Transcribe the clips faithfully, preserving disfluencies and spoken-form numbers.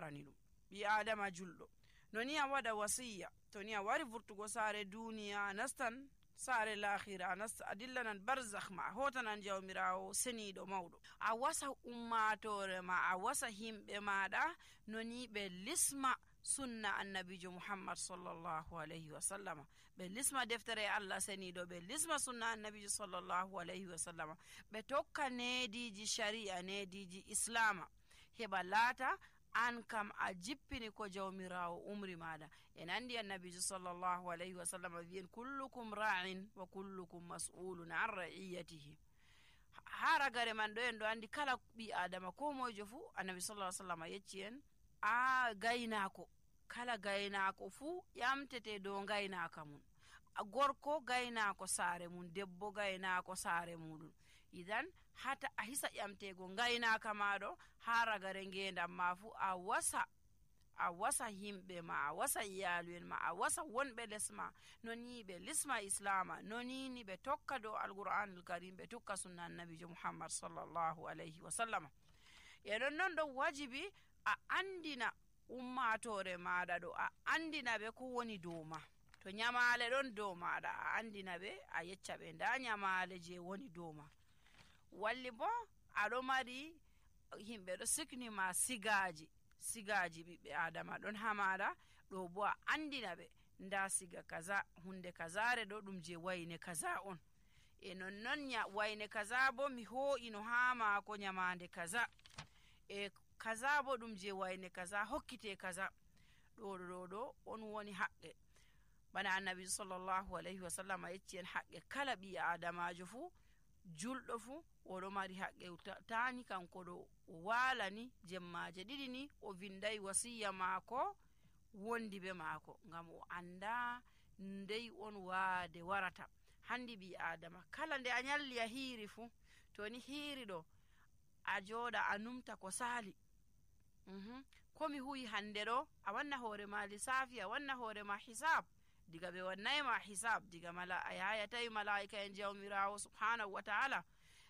hokkaani ɗum. ɓi adama julɗo no ni a waɗa wasiya to ni a wari vurtugo saare duniya a nastan saare lahira a nasta a dillanan barzakh ma a hotanan jawmirawo seniiɗo mawɗo a wasa ummatore ma a wasa himɓe maɗa no ni ɓe lisma sunna annabijo muhammad sallallahu alayhi wa sallama ɓe lisma deftere allah seniiɗo ɓe lisma sunna annabijo sallallahu alayhi wa sallama ɓe tokka nediji shari'a nediji islama heɓa laata an kam a jippini ko jawmirawo umri maɗa. en andi annabijo sallallahu alayhi wa sallama wiyen kullukum ra'in wa kullukum mas'ulun an ra'iyatihi. ha ragare man ɗo en ɗo andi kala ɓi adama ko moyjo fuu annabi sallallahu alayhi wa sallama yecci en a gaynako kala gaynako fuu ƴamtete dow gaynaka mum gorko gaynako saare mum debbo gaynako saare muɗum idan hata a hisa ƴamtego gaynaka maɗo ha ragare ngendam ma fu a wasa a wasa himɓe ma a wasa iyalu en ma a wasa wonɓe lesma no ni ɓe lisma islama no nini ɓe tokka dow alqur'anul karim ɓe tokka sunna annabijo muhammad sallallahu alayhi wa sallama. e ɗon non ɗo wajibi a andina ummatore maɗa ɗo a andina ɓe ko woni dow ma. to nyamale ɗon dow maɗa a andina ɓe a yecca ɓe nda nyamale je woni dow ma. walli bo aɗo mari himɓe ɗo siknima sigaji sigaji ɓiɓɓe adama ɗon ha maɗa ɗo bo a andina ɓe nda siga kaza hunde kazare ɗo ɗum je wayne kaza on e nonnon wayne kaza bo mi ho'ino ha mako nyamande kaza e kaza bo ɗum je wayne kaza hokkite kaza ɗo ɗo ɗo on woni haqqe bana annabi sallallahu alayhi wa sallam yecci en haqqe kala ɓi adamajo fu julɗo fu oɗo mari haqqe tani kanko ɗo o walani jemmaje ɗiɗi ni o vinday wasiya maako wondi be maako ngam o anda ndey on waade warata. handi ɓi adama kala nde a nyalli a hiiri fu to ni hiiri ɗo a jooɗa a numta ko saali mm-hmm. komi huyi hande ɗo a wanna hoore ma lissafi a wanna hoore ma hisab diga ɓe wannayma hisab diga mala a yayatawi malaika en jawmirawo subhanahu wa ta'ala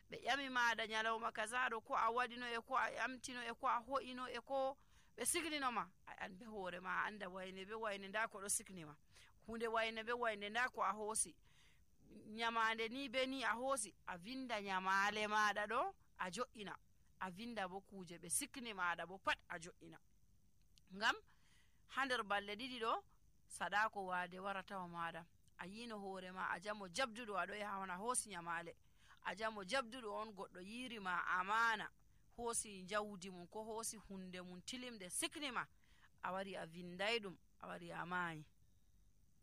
ɓe ƴami maɗa nyalawma kazaɗo ko a waɗino e ko a ƴamtino e ko a ho'ino e ko ɓe signinoma a an be hoore ma a anda wayne be wayne nda ko ɗo signima hunde wayne be wayne nda ko a hoosi nyamande ni be ni a hoosi a vinda nyamale maɗa ɗo a jo'ina a vinda bo kuje ɓe sikni maɗa bo pat a jo'ina ngam ha nder balɗe ɗiɗi ɗo sadako wade waratawa maɗa a yino hoore ma a jamo jabduɗo aɗo yaha wana hoosi nyamale a jamo jabduɗo on goɗɗo yirima amana hoosi jawdi mum ko hoosi hunde mum tilimde siknima a wari a vinday ɗum a wari a maayi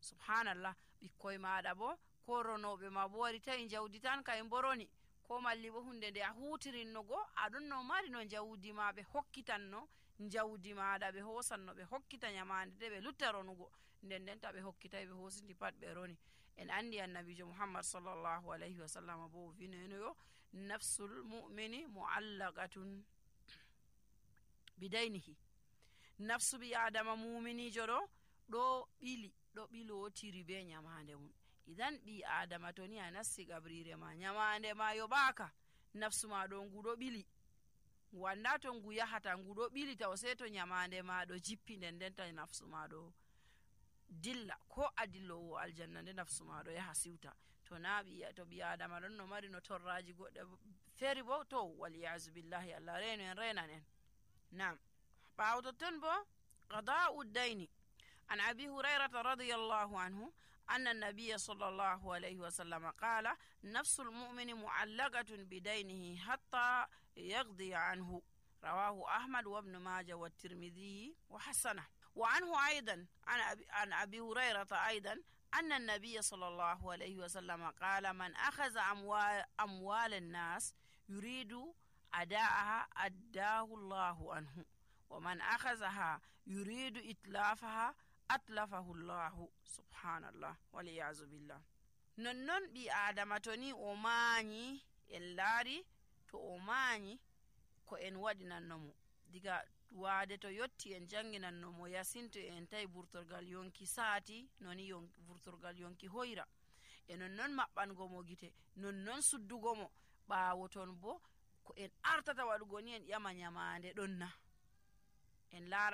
subhanallah ɓikkoye maɗa bo ko ronoɓe ma bo wari tawi jawdi tan kay boroni ko malli bo hunde nde a hutirinnogo aɗon no mari no jawdi ma ɓe hokkitanno jawdi maɗa ɓe hosanno ɓe hokkita nyamande de ɓe lutta ronugo nden nden ta ɓe hokkitayi ɓe hosindi pat ɓe roni. en andi annabijo muhammad sallallahu alayhi wa sallam bo vinenoyo nafsul mu'mini mu'allaqatun bidaynihi nafsu bi adama muminijo ɗo ɗo ɓili ɗo ɓilotiri be nyamande mum. idan ɓi adama to ni a nassi gabrire ma nyamande ma yoɓaka nafsu ma ɗo ngu ɗo ɓili wanda to ngu yahata ngu ɗo ɓili taw sei to nyamande ma ɗo jippi nden nden ta nafsu ma ɗo dilla ko a dillowo aljanna nde nafsu ma ɗo yaha siwta to na ɓi to ɓi adama ɗon no mari no torraji goɗɗe feri bo to waliyasu billahi allah reno en renan en. nam ɓawo totton bo qada'u dayni an abi hurairata radiyallahu anhu أن النبي صلى الله عليه وسلم قال نفس المؤمن معلقة بدينه حتى يقضي عنه رواه أحمد وابن ماجه والترمذي وحسنه. وعنه أيضا عن أبي هريرة أيضا أن النبي صلى الله عليه وسلم قال من أخذ أموال, أموال الناس يريد أداءها أداه الله عنه ومن أخذها يريد إتلافها atlafahu llahu subhanallah waliyazu billah. nonnon ɓi adama to ni o mañi en laari to o mañi ko en waɗinannomo diga waade to yotti en janginannomo yasinto en tawi burtorgal yonki saati noni yon, burtorgal yonki hoyra e nonnon maɓɓangomo gite nonnon suddugomo ɓaawo ton bo ko en artata waɗugo ni en ƴama nyamande ɗon na en laara